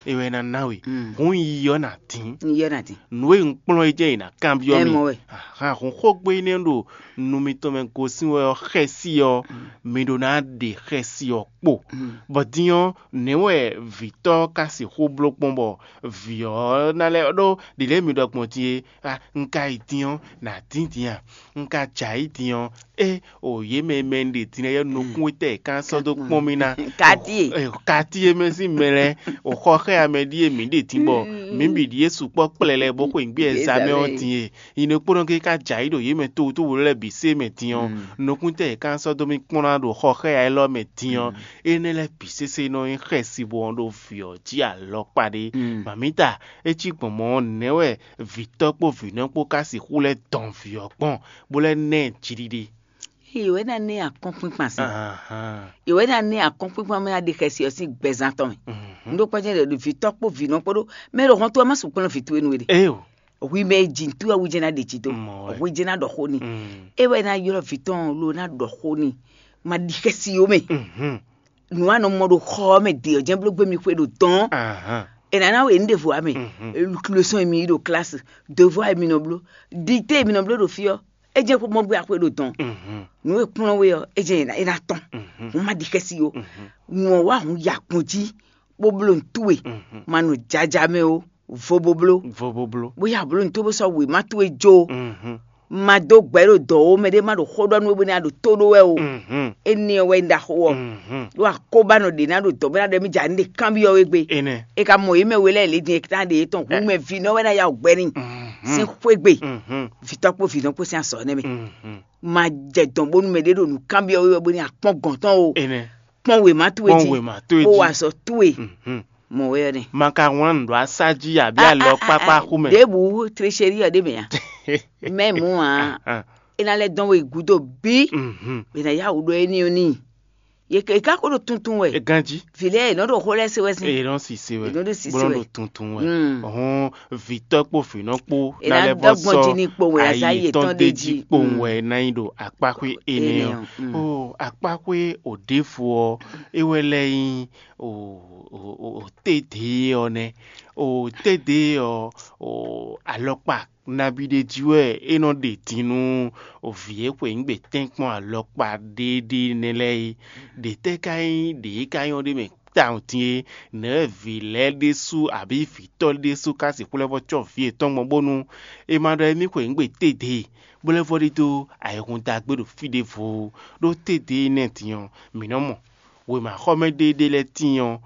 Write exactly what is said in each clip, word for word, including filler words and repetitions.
é wɛ ná ná we. Hǔn yiyi ɔ́ ná dín. Nǔ e un kplɔ́n é jɛ́n è nǎ kanbyɔ́ mi. Ahan, hǔn xógbe énɛ́ ɖo nu mitɔn mɛ gosín wɛ ɔ́ xɛsi ɔ́, mi ɖó ná ɖe xɛsi ɔ́ kpo. Bɔ din ɔ́, nɛ̌ wɛ vǐtɔ́ ka sixú bló gbɔn bɔ vǐ ɔ́ ná lɛ́ ɖó ɖě lɛ́ɛ mi ɖɔ gbɔn din é? Un ka yi din ɔ́, nǎ dín din a? Un ka jɛ ayǐ din ɔ́, é o yě mɛ e mɛ un ɖe din lɛ́ɛ ɔ́, nukún e tɛ́ è ka sɔ́ dó kpɔ́n mì ná. Kati e. Kati e mɛ sín mɛ lɛ́ɛ, o xɔ xá ya mɛ ɖíe mǐ ɖe din bɔ mǐ bǐ ɖíe sukpɔ́ kplɛlɛ bó xweyǐgbe ɛzamɛ ɔ́ din e. Yi nɔ kpónɔ ke ka jɛ ayǐ ɖo yě mɛ towutówu lɛ́ɛ bǐ sé mɛ din ɔ́, nukún tɛ́ è ka sɔ́ dó mì kplɔ́n ná ɖo xɔ xá ya élɔ́ mɛ din ɔ́, énɛ́ lɛ́ɛ bǐ sésé nɔ nyí xɛsi bɔ ɔ́ ɖo vǐ ɔ́ jí alɔkpa ɖé. Mamǐta, é cí gbɔn mɔ̌ ɔ́, nɛ̌ wɛ vǐtɔ́ kpó vǐnɔ kpó ka sixú lɛ́ dɔn vǐ ɔ́ kpɔ́n, bó lɛ́ ná ɛ jiɖiɖe? Yě wɛ ná ná ɛ akɔ́nkpínkpan sín. Yě wɛ ná ná ɛ akɔ́nkpínkpan mɛ ná ɖe xɛsi ɔ́ sín gbɛzán tɔn mɛ. Un ɖó kpɔ́ jɛ́n ɖɔ vǐtɔ́ kpó vǐnɔ kpó ɖó mɛ ɖo hɔn towe má sukpɔ́ nɔ vǐ towe nú we ɖe. Hwi mɛ e ji nǔ towe awu jɛ́n ná ɖe jǐ dó. Hwi jɛ́n ná ɖɔ xó n'i. É wɛ ná ylɔ́ vǐ tɔn lo ná ɖɔ xó n'i. Ma ɖi xɛsi ó mɛ. Nǔ a nɔ mɔ ɖo xɔ ɔ́ mɛ ɖe ɔ́ jɛ́n bló gbé mi xwe ɖo dɔn. È nǎ ná we nǔ ɖěvo ǎ mɛ. Leçon e mi yí ɖo klasi, devoir e mi nɔ bló, dictée e mi nɔ bló ɖo fí ɔ́, é jɛ́n xó mɔ gbé axwe ɖo dɔn. Nǔ e kplɔ́n we ɔ́, é jɛ́n è nǎ tɔn. Hǔn ma ɖi xɛsi ó. Nǔ ɔ́ wá hǔn ya kpɔn jí, bó bló nǔ towe. Ma nɔ jaja mɛ ó, vo bo bló. Vo bo bló. Bóyá bló nǔ towe bó sɔ́ wěma towe jó. Ma dó gbɛ̌ ɖo dɔ̌ ó, mɛɖé má ɖo xó ɖɔ nú we bónú a ɖo tó ɖó wɛ o. Énɛ́ ɔ́ wɛ nyí ɖaxó ɔ́. Ɖó akóbánɔ ɖě ná ɖo dɔ̌ bó ná ɖɔ émí jɛ nǔ ɖe kanbyɔ́ we gbe. Énɛ́. É ka mɔ yě mɛ we lɛ́ɛ lě din é ka ɖe yětɔn hǔn mɛ vǐ nɔ wɛ ná ya wǔ gbɛ́ n'i. Sín xwé gbe, vǐtɔ́ kpó vǐnɔ kpó sín azɔ̌ nɛ́ mɛ. Ma jɛ dɔn bónú mɛɖé ɖo nǔ kanbyɔ́ we wɛ bónú a kpɔ́n gɔ̌n tɔn o. Énɛ́. Kpɔ́n wěma towe jí, kpɔ́n wěma towe jí, bó wa azɔ̌ towe. Mɔ wɛ ɔ́ nɛ. Ma ka wlán nǔ ɖó asá jí abǐ alɔ kpákpá xú mɛ. Ɖěbǔ tréchérí ɔ́ ɖé mɛ a? Mɛ mǔ ǎ. É ná lɛ́ dɔn we gúdo bí. È nǎ yá wǔ ɖɔ éní ɔ́ n'i. Yě ká ko ɖo tuntun wɛ. Ganjí. Vǐ lɛ́ɛ è nɔ ɖo xó lɛ́ɛ se wɛ sín. È nɔ sise wɛ. È nɔ ɖo sise wɛ. Bó nɔ ɖo tuntun wɛ. Hɔn vǐtɔ́ kpó vǐnɔ kpó ná lɛ́ vɔ sɔ́ ayi yětɔn ɖ'é jí kpowun wɛ ná nyi ɖo akpáxwé énɛ́ ɔ́. Ó akpáxwé òɖěvo ɔ́, é wɛ lɛ́ nyí òtédě ɔ́ nɛ́. Òtédě ɔ́, alɔkpa nabí ɖé jí wɛ é nɔ ɖe din nú vǐ e xweyǐgbe tɛ́nkpɔ́n alɔkpa ɖéɖé nɛ́ lɛ́ɛ é. Ɖě tɛ́ ka nyí ɖě e ka nyɔ́ ɖ'é mɛ tawun din é? Nɛ̌ wɛ vǐ lɛ́ɛ ɖésú abǐ vǐtɔ́ ɖésú ka sixú lɛ́ vɔ́ cɔ́ vǐ yětɔn gbɔn bónú è ma ɖɔ émí xweyǐgbe tédě, bó lɛ́ vɔ́ ɖidó ayihún dó agbé ɖo fí ɖěvo? Ɖó tédě énɛ́ din ɔ́, mǐ nɔ́ mɔ wěmaxɔmɛ ɖé ɖé lɛ́ɛ tíin ɔ́,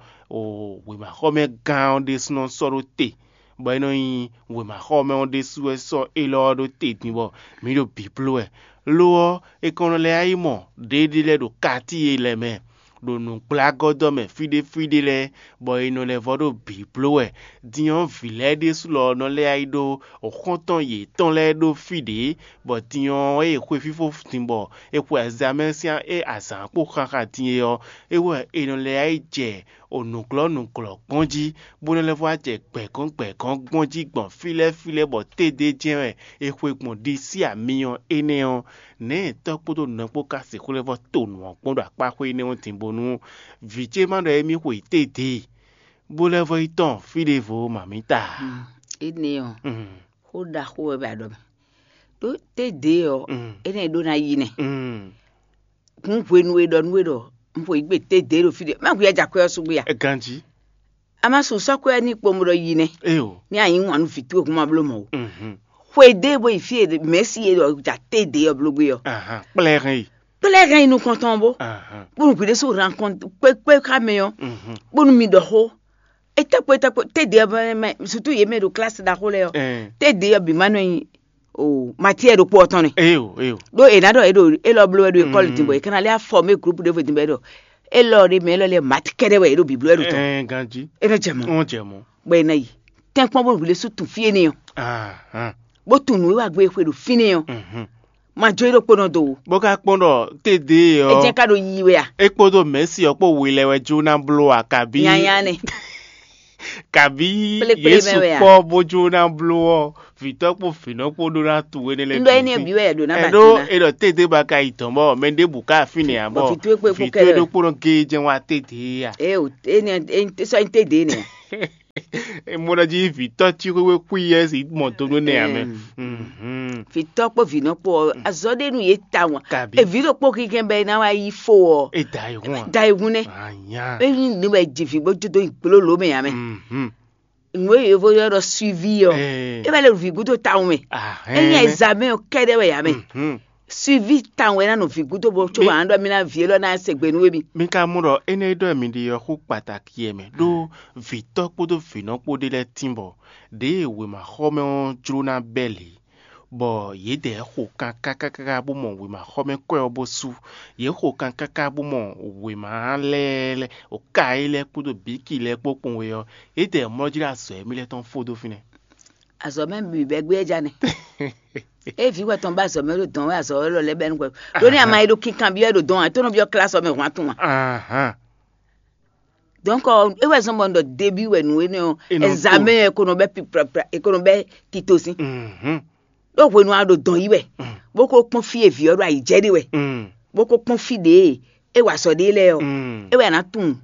wěmaxɔmɛ gán ɔ́ ɖésúnɔ sɔ́ ɖó te, bɔ é nɔ nyí wěmaxɔmɛ ɔ́ ɖésú wɛ sɔ́ élɔ́ ɔ́ ɖó te din bɔ mǐ ɖo bǐ bló wɛ. Lo ɔ́, è kɔn nɔ lɛ́ yá yi mɔ ɖěɖé lɛ́ɛ ɖo katíi e lɛ́ɛ mɛ, ɖo nǔgblágɔ́dɔ́ mɛ fí ɖé fí ɖé lɛ́ɛ, bɔ è nɔ lɛ́ vɔ́ ɖo bǐ bló wɛ. Din ɔ́, vǐ lɛ́ɛ ɖésú lɔ nɔ lɛ́ yá yi ɖó xɔ́ntɔn yětɔn lɛ́ɛ ɖó fí ɖě, bɔ din ɔ́, ée xwe fífó din bɔ è xwe azǎn mɛ sín é azǎn kpó xanxan din é ɔ́, é wɛ è nɔ lɛ́ yá yi jɛ o nǔglɔ́ nǔglɔ́ gbɔn jí, bó nɔ́ lɛ́ vɔ́ wá jɛ gbɛ̌gɔ́n gbɛ̌gɔ́n gbɔn jí gbɔn fí lɛ́ɛ fí lɛ́ɛ bɔ tédé jɛ́n wɛ è xwe gbɔn ɖisí amyɔ énɛ́ ɔ́, nɛ̌ tɔ́ kpódó nɔ kpó ka sixú lɛ́ vɔ́ to nǔ ɔ́ kpɔ́n ɖo akpáxwé énɛ́ ɔ́ din bónú vǐ ce ma ɖɔ émí xwe tédě, bó lɛ́ vɔ́ yi tɔ́n fí ɖěvo mamǐta? Énɛ́ ɔ́, xó ɖaxó wɛ bɛ a ɖɔ mɛ. Ɖó tédě ɔ́, énɛ́ ɖó ná yi nɛ. Hǔn hwenu e ɖɔ nú we ɖɔ un xwe yǐgbe tédě ɖo fí ɖé, má hwi ajakwɛ́ ɔ́ sú gbé a? Ganjí. A ma sun sɔ́ kwɛ́ ní kpomɔ ɖɔ yi nɛ́. Éyo. Ní a nyǐ wǎn nú vǐ towe hǔn ma bló mɔ̌ ó. Xwe ɖé bó yi fí e mɛ̌si e ɖɔ ja tédě ɔ́ bló gbé ɔ́. Kplɛ́ hɛn yi. Kplɛ́ hɛn yi nukɔn tɔn bó. Bónú hwi ɖésú rankɔn kpékpé xá mɛ ɔ́. Bónú mi ɖɔ xó. Etɛ́kpo etɛ́kpo tédě ɔ́ mɛ, sutu yě mɛ ɖo klasi ɖaxó lɛ́ɛ ɔ́. Tédě ɔ́ bǐ ma nɔ nyi o matière ɖokpó ɔ́ tɔn nɛ. Eyo, eyo. Ɖó è nǎ ɖɔ é ɖo élɔ́ bló wɛ ɖo ékɔ́li din bɔ è ka ná lɛ́ afɔmé groupe ɖěvo din bɔ é ɖɔ élɔ́ ɖé mɛ élɔ́ lɛ́ɛ mati kɛ́ɖɛ́ wɛ é ɖo bǐbló wɛ ɖo tɔn. Ɛɛ, ganjí. É nɔ jɛ mɔ. Wọ́n jɛ mɔ. Bɔ è nɔ yi tɛ́nkpɔ́n bó hwilé sú tun fí énɛ́ ɔ́. Ahan. Bó tun nǔ e wá gbé xwe ɖo fínɛ́ ɔ́. Mhm. Ma jó é ɖokpónɔ do o. Bó ka kpɔ́n ɖɔ tédě É ɔ́, jẹ́ ká ɖo yiyi wɛ a? É kpódó mɛ̌si ɔ́ kpó we lɛ́ɛ wɛ jó ná bló a, kabí Nyanya nɛ. Kabí Kplekple Yesu mɛ wɛ a? Kpɔ́ bó jó ná bló ɔ́, vǐtɔ́ kpó vǐnɔ kpó ɖó ná tu énɛ́ lɛ́ɛ Un ɖɔ énɛ́ bǐ wɛ ɖo ná ba Ɛɖó ná. É ɖɔ tédé ba ka yi dɔn bɔ mɛ ɖěbǔ ka fínɛ́ ǎ bɔ Bɔ vǐ towe kpé kpó vǐ kɛ́ɖɛ́ towe wɛ. Ɖokpónɔ géé jɛ́n wá tédě a? É o énɛ́ é sɔ́ nyí tédě nɛ. Mo ɖɔ jí vǐtɔ́ cí xwéxwé xwí yɛ si mɔ do nú nɛ ame. Vǐtɔ́ kpó vǐnɔ kpó ɔ́, azɔ̌ ɖé nú yě tawun. Kabi. Eví ɖokpó kínkɛn bɛ ná wá yí fo ɔ́, E da yi hun a? Da yi hun nɛ. Anya. Ényí ní wɛ ji vǐ bó jó dó nyi gblóló mɛ ame. Mhm. Nǔ e yovo ylɔ́ ɖɔ suivi ɔ́, Ee. E wɛ lɛ ɖo vǐ gúdo tawun mɛ. Ah, Ényí hɛn. Examen ɔ́ kɛ́ɖɛ́ wɛ ame. Mhm. Suivi tawun wɛ ná nɔ vǐ gúdo bó có Mi- wǎn ɖɔ mí ná vǐ élɔ́ ná se gbe nú émí. Mi ka mɔ ɖɔ énɛ́ e ɖɔ mǐ ɖe ɔ́ xó kpataki yɛ mɛ ɖó vǐtɔ́ kpódó vǐnɔ kpó ɖé lɛ́ɛ tín bɔ ɖěe wěmaxɔmɛ ɔ́ jló ná bɛ́ lě, bɔ yědɛɛ xo kan káká bó mɔ wěmaxɔmɛ kwɛ́ ɔ́ bó sú. Yě xo kan káká bó mɔ wěma lɛ́ɛ lɛ́ɛ, wǒ ka é lɛ́ɛ kpódó bǐki lɛ́ɛ kpó kpɔn we ɔ́, yědɛɛ mlɔ́ jí ɖo azɔ̌ émí lɛ́ɛ tɔn fó dó fínɛ́. Azɔ̌ mɛ bǐ bɛ́ gbé é ja nɛ. É vǐ wɛ tɔn bá azɔ̌ mɛ ɖo dɔn wɛ azɔ̌ élɔ́ lɛ́ɛ bɛ nukɔn. Ɖó ní ama e ɖo kinkan byɔ́ ɖo dɔn ǎ, é tɔn nɔ byɔ́ klásɔ mɛ hwan tun ǎ. Ahan. Donc ɔ́, é wɛ zɔ́n bɔ un ɖɔ débí wɛ nǔ énɛ́ ɔ́, Énɛ́ ɔ́ examen ɛ ko nɔ bɛ́ piprapra, è ko nɔ bɛ́ tito sín. Mhm. Ɖó hwenu a ɖo dɔn yí wɛ, Mm. bó ko kpɔ́n fí e vǐ ɔ́ ɖo ayǐ jɛ ɖe wɛ, Mm. bó ko kpɔ́n fí ɖě e é wa azɔ̌ ɖe lɛ́ɛ ɔ́, Mm. é wɛ a nǎ tunwun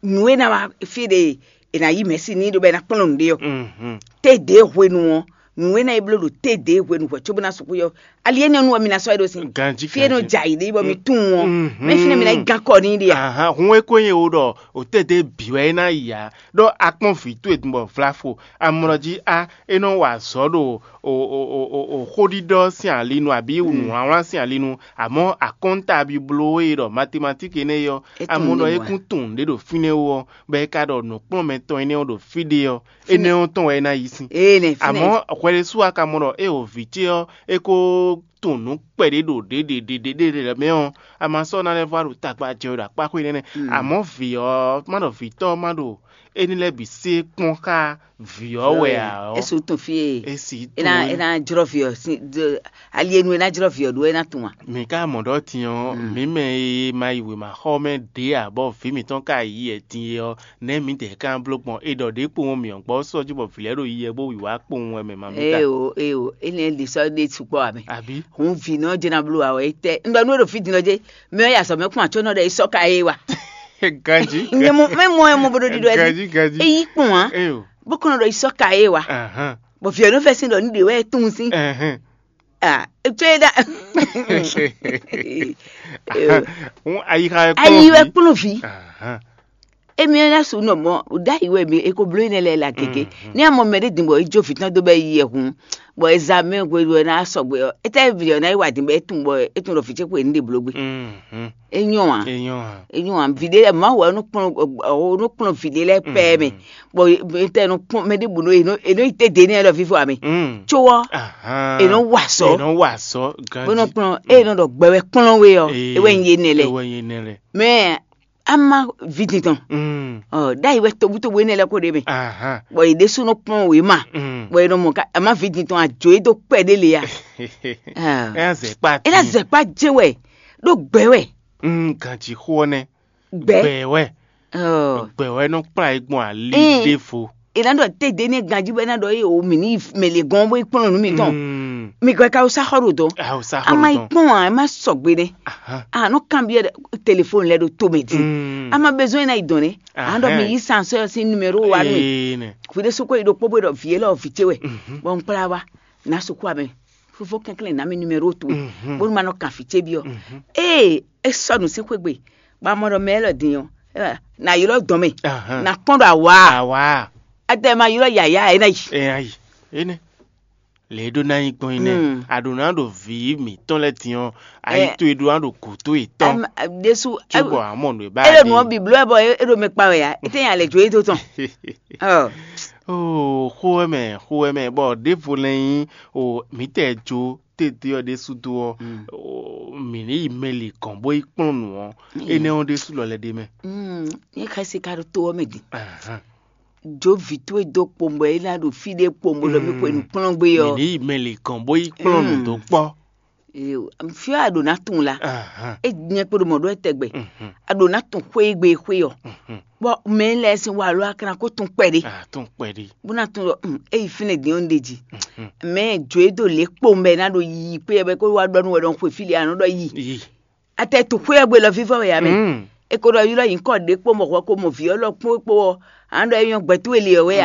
nǔ e ná wá fí ɖe è nǎ yí mɛ̌si n'i ɖo bɔ é ná kplɔ́n nǔɖé ɔ́. Mhm. Té ɖě hwenu ɔ́, nǔ e ná yi bló ɖo té ɖě hwenu hwɛ cóbó ná sixú yɔ. Ali énɛ́ nu ɔ́, mi ná sɔ́ é ɖó sin. Ganjí, Fí e nɔ ganjí. Jɛ ayǐ ɖe bɔ mi tunwun ɔ́, Mhm. mɛ fínɛ́ mi ná yi gán kɔ n'i ɖe a? Ahan, hun e ko nyí wo ɖɔ o té ɖě bǐ wɛ é ná yi ǎ, ɖɔ a kpɔ́n vǐ towe din bɔ vlá fo amlɔ jí á, é nɔ wa azɔ̌ ɖo o o o o o xóɖiɖɔ sín ali nu abǐ nǔwlánwlán sín ali nu, àmọ́ akɔ́nta bibló e ɖɔ matematíki énɛ́ é ɔ́, É tunwun amɔ ɖɔ n'i é wá. Kún tunwun nǔɖé ɖo fínɛ́ ó ɔ́, bɔ é ka ɖɔ nǔkplɔ́nmɛ tɔn énɛ́ ɔ́ ɖo fí ɖé ɔ́, Fínɛ́. Énɛ́ ɔ́ tɔn wɛ é ná yi sín. Ee, nɛ fínɛ́. Àmọ́ hwɛɖésú a ka mɔ ɖɔ é o vǐ ce ɔ́, é ko tunwun nǔ kpɛɖé ɖo ɖěɖěɖěɖě lɛ́ɛ mɛ ɔ́, a ma sɔ́ ná lɛ́ vɔ ɖo tagba jɛ ɖo akpá xwé nɛnɛ. Mm. Àmọ́ vǐ ɔ́, má ɖɔ vǐtɔ́ ɔ́ má ɖo éní lɛ́ɛ bǐ sé kpɔ́n xá vǐ ɔ́ wɛ ǎ ɔ́, Esu tun fie. É si É ná tunwun é ná jlɔ́ vǐ ɔ́ sín, ali e nu é ná jlɔ́ vǐ ɔ́ ɖó é ná tunwun a? Mǐ ka mɔ ɖɔ din ɔ́, Mm. mǐ mɛ e ma yi wěma xɔ mɛ ɖě ǎ, bɔ vǐ mǐtɔn ka yi yɛ din é ɔ́, nɛ̌ mǐdɛɛ ka bló gbɔn? È ɖɔ ɖě kpowun mǐ ɔ́ gbɔ sɔ́ jí bɔ vǐ lɛ́ɛ ɖo yi yɛ bó wǐwá kpowun wɛ mɛ ma mǐ ta. Ée o, ée o, énɛ́ ɖi sɔ́ ɖé sukpɔ́ ame. Àbí? Hǔn vǐ nɔ jɛ ná bló ǎ wɛ é tɛ. Un ɖɔ nú é ɖo fí din ɔ́ jé, mɛ ɔ́ ya azɔ̌ mɛ kún atsɔ́ nɔ ɖɔ é sɔ́ ka é wa. Ganjí. Nyɛ mɔ mɛ mɔ ɛ mɔ bo ɖo ɖiɖɔ ɛ Ganjí, ganjí. É yí kpɔn ǎ. Ée o. Bó kɔn nɔ ɖɔ é sɔ́ ka é wa. Ahán. Bɔ vǐ ɔ́ nɔ fɛ sín ɖɔ ní ɖě wɛ é tunwun sín. Ahán. Ah, etsɔ é ɖa. Hún ayixa wɛ Ayi wɛ kplɔ́n kplɔ́n vǐ. Ahán. Emi ɔ́ ná su nɔ mɔ ɖ'ayǐ wɛ mi e ko bló énɛ́ lɛ́ɛ la gěgé. Mhm. Ní a mɔ mɛ ɖé din bɔ é jó vǐ tɔn dó bɔ é yi yɛhun, bɔ é zá mɛ hwenu e ná sɔgbe ɔ́, étɛ́ vǐ ɔ́ ná yi wa din bɔ é tunwun bɔ é tunwun ɖɔ vǐ ce xwe ní ɖe bló gbé. Mhm. É nyɔ́ ǎ. É nyɔ́ ǎ. É nyɔ́ ǎ. Vǐ ɖé lɛ́ɛ Mawu wɛ nɔ kplɔ́n ɔ, nɔ kplɔ́n vǐ ɖé lɛ́ɛ pɛ́ mɛ. Mhm. Bɔ étɛ́ nɔ kplɔ́n mɛ ɖěbǔ nɔ é nɔ é nɔ yi té dě nɛ́ lɔ fífɔ ame. Mm. Có ɔ́, Ahán. È nɔ wa azɔ̌. È nɔ wa azɔ̌. Bó nɔ ganjí. Kplɔ́n é nɔ ɖɔ gbɛ wɛ kplɔ́n we ɔ́, Ee, é wɛ nyí yé nɛ lɛ. É wɛ nyí nɛ lɛ. Mɛ ama vǐ din tɔn. Mm. Ɔ ɖ'ayǐ wɛ tobutobu énɛ́ lɛ́ɛ ko ɖe mɛ. Ahán. Bɔ yě ɖésúnɔ kplɔ́n wě ma. Mm. Bɔ è nɔ mɔ ká ama vǐ din tɔn àjò é dó kpɛ ɖé le ya. Ah. É ná zɛ kpá É ná dín. Zɛ kpá jé wɛ ɖó gbɛ wɛ. Mm, ganjí xó ɔ́ nɛ́. Gbɛ. Gbɛ wɛ. Ɔ. Gbɛ wɛ nɔ kplá yí gbɔn ali Ee. Ɖěvo. È nǎ ɖɔ té ɖě ní ganjí bɔ é ná ɖɔ é o mǐ ní mɛ lě gɔ́n bó yi kplɔ́n nǔ mitɔn. Mm. Mi gɔ́ ká wúsá xɔ ɖo dɔn. A wúsá xɔ Ama yi ɖo dɔn. Kpɔ́n ǎ, é má sɔgbe nɛ́. Ahán. A nɔ kanbyɔ́ ɖɛ telefoni lɛ ɖo to mɛ din. Mm. A ma besoin ná yi dɔn nɛ́. A nɔ ɖɔ mi Ahán. Yi sansɔ́ ɔ́ sín numéro wa nú mi. Ee nɛ. Hwi ɖé sukó yi ɖokpó bó ɖɔ vǐ élɔ́ vǐ ce wɛ. Mhm. Bɔ un kplá wa. Nǎ sukú amɛ. Fofó kɛnklɛ́n ná mi numéro towe. Mhm. Bónú ma nɔ kan fǐ ce byɔ́. Mhm. Ée é sɔ́ nǔ sín xwé gbe, bɔ a mɔ ɖɔ mɛ élɔ́ din ɔ́, é wá, nǎ ylɔ́ dɔn mɛ. Ahán. Nǎ kpɔ́n ɖo awǎ. Awǎ. Adɛ ma ylɔ́ yǎyá ɛ ná yi. Ɛ ayi. Énɛ́. Lě e ɖó ná nyí gbɔn é nɛ́. Mm. A ɖǒ ná ɖo vǐ mǐtɔn lɛ́ɛ din ɔ́, ayi Ɛ. Towe ɖó ná ɖo gǔdo yětɔn. Am- a- Ɖésú Cóbɔ a mɔ nǔ e ba é ɖo nǔ ɔ́ bǐbló wɛ bɔ é é ɖo mɛ kpa wɛ ǎ. É tɛ́ nya lɛ jó é dó tɔn. Ɔ. Oo, xó wɛ mɛ, xó wɛ mɛ, bɔ ɖěvo lɛ́ɛ nyí o mǐtɛɛ jó tédé ɔ́ ɖésú dó ɔ́, Mm. o, mǐ ní yi mɛ li gɔ̌n bó yi kplɔ́n nǔ ɔ́, Mm. Énɛ́ ɔ́ ɖésú lɔ lɛ́ ɖe mɛ. Mm, nyɛ xɛsi ka ɖo to ɔ́ mɛ din. Ahán. Jó vǐ towe dó kpowun bɔ é ná ɖo fí ɖé kpowun bó ɖɔ mì xwe nǔkplɔ́n gbé ɔ́. Mǐ ní yi mɛ li gɔ̌n bó yi kplɔ́n nǔ dó kpɔ́. Fí ɔ́ a ɖǒ ná tunwun la. Ahán. É nyɛ kpo ɖo mɔ̌ ɖó wɛ tɛgbɛ. Mhm. A ɖǒ ná tun xwé e gbe xwé ɔ́. Mhm. Bɔ mɛ lɛ́ɛ sín wa lɔ a ka ná kó tun kpɛɖé. A tún kpɛɖé. Bó ná tun ɖɔ um, é yi fínɛ́ dín ɔ́ un ɖe jí. Mhm. Mɛ jǒ e dó lě kpowun bɔ é ná ɖo yiyi kpé ɔ́ bɔ é kó wá ɖɔ nú wɛ ɖɔ un xwe fí ɖé a nɔ ɖɔ yi. Yi. Atɛ tu xwé ɔ́ gbe lɔ vívɔ wɛ ǎ mɛ. Mm. E ko ɖɔ ylɔ́ nyǐkɔ ɖě kpó mɔ hwɛ ko mɔ vǐ ɔ́ lɔ kpó kpó ɔ́, a nɔ ɖɔ é nyɔ́ gbɛtú e le ɔ́ wɛ